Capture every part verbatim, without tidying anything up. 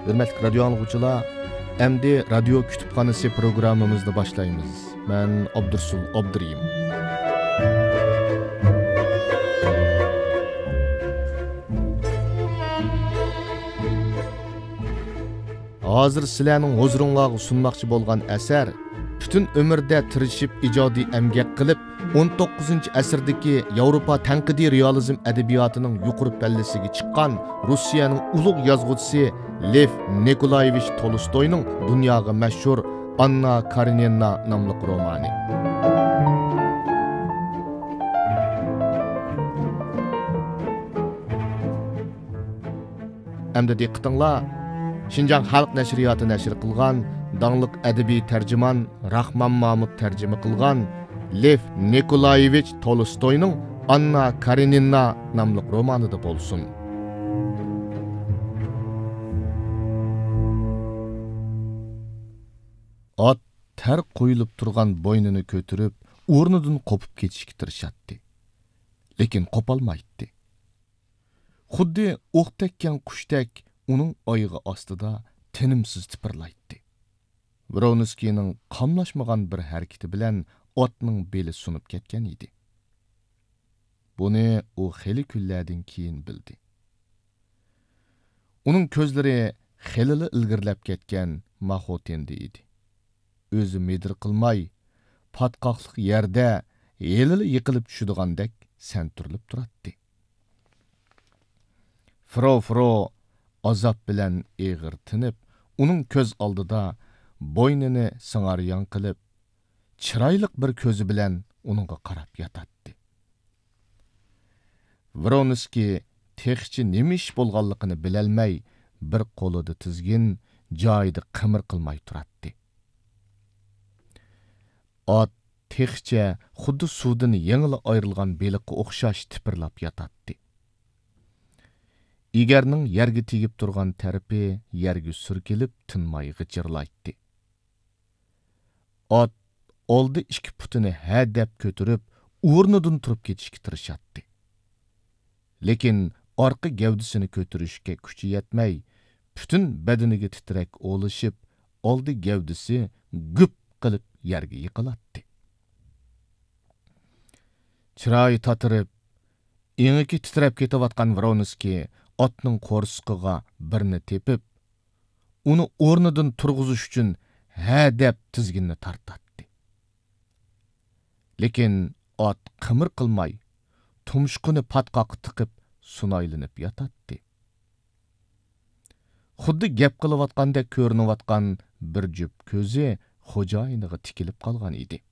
ھۆرمەتلىك رادىيو ئاڭلىغۇچىلار، ئەمدى رادىيو كۇتۇپخانىسى پروگراممىمىزنى باشلايمىز. مەن ئابدۇرسۇل ئابدۇرېھىم. ھازىر سىلەرنىڭ ھۇزۇرۇڭلارغا سۇنماقچى بولغان ئەسەر پۈتۈن ئۆمرىدە تىرىشىپ ئىجادىي ئەمگەك قىلىپ، ئون توققۇزىنچى ئەسىردىكى ياۋروپا تەنقىدىي رېئالىزم ئەدەبىياتىنىڭ يۇقىرى پەللىسىگە چىققان روسىيەنىڭ ئۇلۇغ يازغۇچىسى لېف نىكولايېۋىچ تولستوينىڭ دۇنياغا مەشھۇر ئاننا كارېنىنا ناملىق رومانى. ئەمدى دىققىتىڭلار شىنجاڭ خەلق نەشرىياتى نەشر قىلغان داڭلىق ئەدەبىي تەرجىمان راخمان مامۇت تەرجىمە قىلغان لېف نىكولايېۋىچ تولستوينىڭ ئاننا كارېنىنا ناملىق رومانىدا بولسۇن. ئات تەر قويۇلۇپ تۇرغان بوينىنى كۆتۈرۈپ، ئورنىدىن قوپۇپ كېتىشكە تىرىشاتتى. لېكىن قوپالمايتتى. خۇددى ئوق تەگكەن قۇشتەك ئۇنىڭ ئايىغى ئاستىدا تىنىمسىز تىپىرلايتتى. ۋرونسكىينىڭ قاملاشمىغان بىر ھەرىكىتى بىلەن ئاتنىڭ بېلى سۇنۇپ كەتكەن ئىدى. بۇنى ئۇ خېلى كۈنلەردىن كېيىن بىلدى. ئۇنىڭ كۆزلىرى خېلىلا ئىلگىرىلەپ كەتكەن ماخوتىندە ئىدى. ئۆزى مىدىر قىلماي، پاتقاقلىق يەردە ھېلىلا يىقىلىپ چۈشىدىغاندەك سەنتۈرۈلۈپ تۇراتتى. فرو فرو ئازاب بىلەن ئېغىر تىنىپ، ئۇنىڭ كۆز ئالدىدا بوينىنى سىڭاريان قىلىپ، چىرايلىق بىر كۆزى بىلەن ئۇنىڭغا قاراپ ياتاتتى. ۋرونسكىي تېخىچە نېمە ئىش بولغانلىقىنى بىلەلمەي، بىر قولىدا تىزگىن، جايىدا قىمىر قىلماي تۇراتتى. ئات تېخىچە خۇددى سۇدىن يېڭىلا ئايرىلغان بېلىققا ئوخشاش تىپىرلاپ ياتاتتى. ئېگەرنىڭ يەرگە تېگىپ تۇرغان تەرىپى يەرگە سۈركىلىپ، تىنماي غىچىرلايتتى. ئات ئالدى ئىككى پۇتىنى ھەدەپ كۆتۈرۈپ، ئورنىدىن تۇرۇپ كېتىشكە تىرىشاتتى. لېكىن ئارقا گەۋدىسىنى كۆتۈرۈشكە كۈچى يەتمەي، پۈتۈن بەدىنىگە تىترەك ئولىشىپ، ئالدى گەۋدىسى گۈپ قىلىپ يەرگە يىقىلاتتى. چىرايى تاتىرىپ، ئېڭىكى تىترەپ كېتىۋاتقان ۋرونسكىي ئاتنىڭ قورسىقىغا بىرنى تېپىپ، ئۇنى ئورنىدىن تۇرغۇزۇش ئۈچۈن ھەدەپ تىزگىننى تارتاتتى. لېكىن ئات قىمىر قىلماي، تۇمشۇقىنى پاتقاققا تىقىپ سۇنايلىنىپ ياتاتتى. خۇددى گەپ قىلىۋاتقاندەك كۆرۈنۈۋاتقان بىر جۈپ كۆزى خوجايىنىغا تىكىلىپ قالغان ئىدى.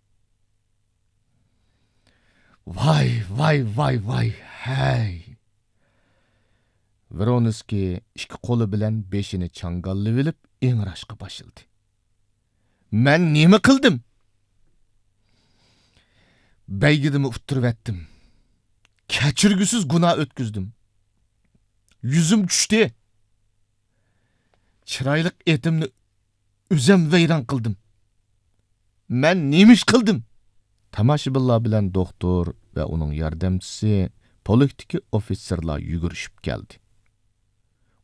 ۋاي، ۋاي، ۋاي، ۋاي، ھەي! ۋرونسكىي ئىككى قولى بىلەن بېشىنى چاڭگاللىۋېلىپ ئىڭراشقا باشلىدى. مەن نېمە قىلدىم؟ بەيگىدىمۇ ئۇتتۇرۇۋەتتىم. كەچۈرگۈسىز گۇناھ ئۆتكۈزدۈم. يۈزۈم چۈشتى. چىرايلىق ئېتىمنى ئۆزۈم ۋەيران قىلدىم. مەن نېمە ئىش قىلدىم؟ تاماشىبىنلار بىلەن دوختۇر ۋە ئۇنىڭ ياردەمچىسى پولىتىكا ئوفىتسېرلار يۈگۈرۈشۈپ كەلدى.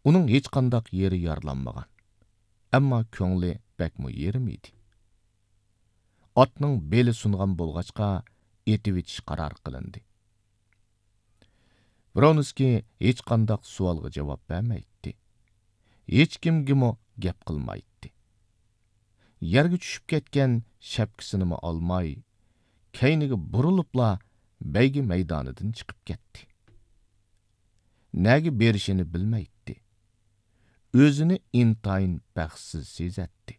ئۇنىڭ ھېچقانداق يېرى يارىلانمىغان. ئەمما كۆڭلى بەكمۇ يېرىم ئىدى. ئاتنىڭ بېلى سۇنغان بولغاچقا، ئېتىۋېتىش قارار قىلىندى. ۋرونسكىي ھېچقانداق سوئالغا جاۋاب بەرمەيتتى. ھېچكىمگىمۇ گەپ قىلمايتتى. يەرگە چۈشۈپ كەتكەن شەپكىسىنىمۇ ئالماي، كەينىگە بۇرۇلۇپلا بەيگە مەيدانىدىن چىقىپ كەتتى. نەگە بېرىشىنى بىلمەيتتى. ئۆزىنى ئىنتايىن بەختسىز سېزەتتى.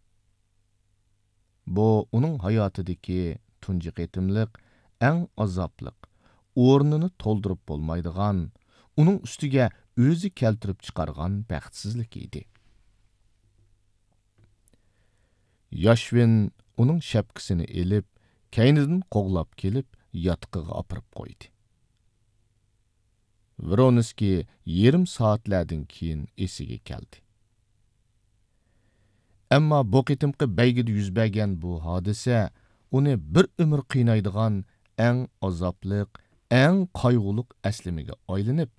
بۇ ئۇنىڭ ھاياتىدىكى تۇنجى قېتىملىق، ئەڭ ئازابلىق، ئورنىنى تولدۇرۇپ بولمايدىغان، ئۇنىڭ ئۈستىگە ئۆزى كەلتۈرۈپ چىقارغان بەختسىزلىك ئىدى. ياشۋىن ئۇنىڭ شەپكىسىنى ئېلىپ، كەينىدىن قوغلاپ كېلىپ، ياتىقىغا ئاپىرىپ قويدى. ۋرونسكىي يېرىم سائەتلەردىن كېيىن ئېسىگە كەلدى. ئەمما بۇ قېتىمقى بەيگىدە يۈز بەرگەن بۇ ھادىسە ئۇنى بىر ئۆمۈر قىينايدىغان ئەڭ ئازابلىق، ئەڭ قايغۇلۇق ئەسلىمىگە ئايلىنىپ،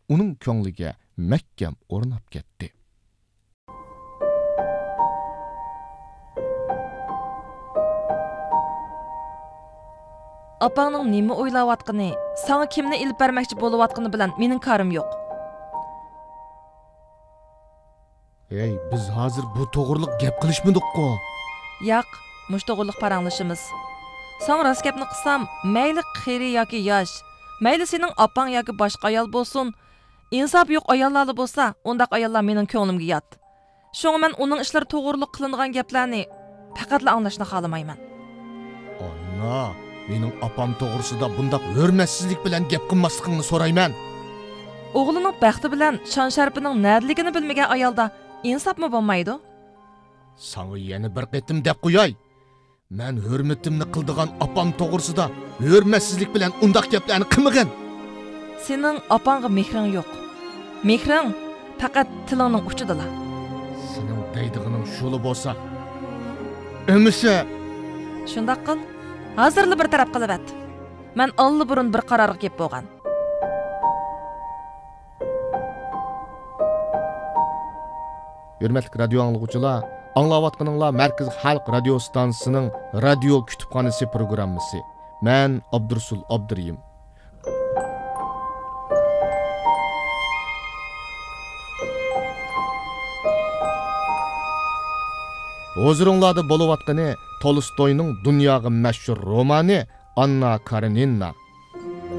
ئۇنىڭ كۆڭلىگە مەھكەم ئورناپ كەتتى. ئاپاڭنىڭ نېمە ئويلاۋاتقىنى، ساڭا كىمنى ئېلىپ بەرمەكچى بولۇۋاتقىنى بىلەن مېنىڭ كارىم يوق. ھەي، بىز ھازىر بۇ توغرىلىق گەپ قىلىشمىدۇققۇ؟ ياق، مۇشۇ توغرىلىق پاراڭلىشىمىز. ساڭا راست گەپنى قىلسام، مەيلى قېرى ياكى ياش، مەيلى سېنىڭ ئاپاڭ ياكى باشقا ئايال بولسۇن، ئىنسابى يوق ئاياللارلا بولسا، ئۇنداق ئاياللار مېنىڭ كۆڭلۈمگە يات. شۇڭا مەن ئۇنىڭ ئىشلىرى توغرۇلۇق قىلىنىدىغان گەپلەرنى پەقەتلا ئاڭلاشنى خالىمايمەن. ئانا، مېنىڭ ئاپام توغرىسىدا بۇنداق ھۆرمەتسىزلىك بىلەن گەپ قىلماسلىقىڭنى سورايمەن. ئوغلىنىڭ بەختى بىلەن شان-شەرىپىنىڭ نەدىلىكىنى بىلمىگەن ئايالدا ئىنساپمۇ بولمايدۇ. ساڭا يەنە بىر قېتىم دەپ قوياي. مەن ھۆرمىتىمنى قىلىدىغان ئاپام توغرىسىدا ھۆرمەتسىزلىك بىلەن ئۇنداق گەپلەرنى قىلمىغىن. سېنىڭ ئاپاڭغا مېھرىڭ يوق. مېھرىڭ پەقەت تىلىڭنىڭ ئۇچىدىلا. سېنىڭ دەيدىغىنىڭ شۇلا بولسا، ئەمىسە. شۇنداق قىل، ھازىرلا بىر تەرەپ قىلىۋەت. مەن ئاللىبۇرۇن بىر قارارغا كېلىپ بولغان. ھۆرمەتلىك رادىيو ئاڭلىغۇچىلار، ئاڭلاۋاتقىنىڭلار مەركىزىي خەلق رادىيو ئىستانسىسىنىڭ رادىيو كۇتۇپخانىسى پروگراممىسى. مەن ئابدۇرۇسۇل ئابدۇرېھىم. ھۇزۇرۇڭلاردا بولۇۋاتقىنى تولستوينىڭ دۇنياغا مەشھۇر رومانى ئاننا كارېنىنا.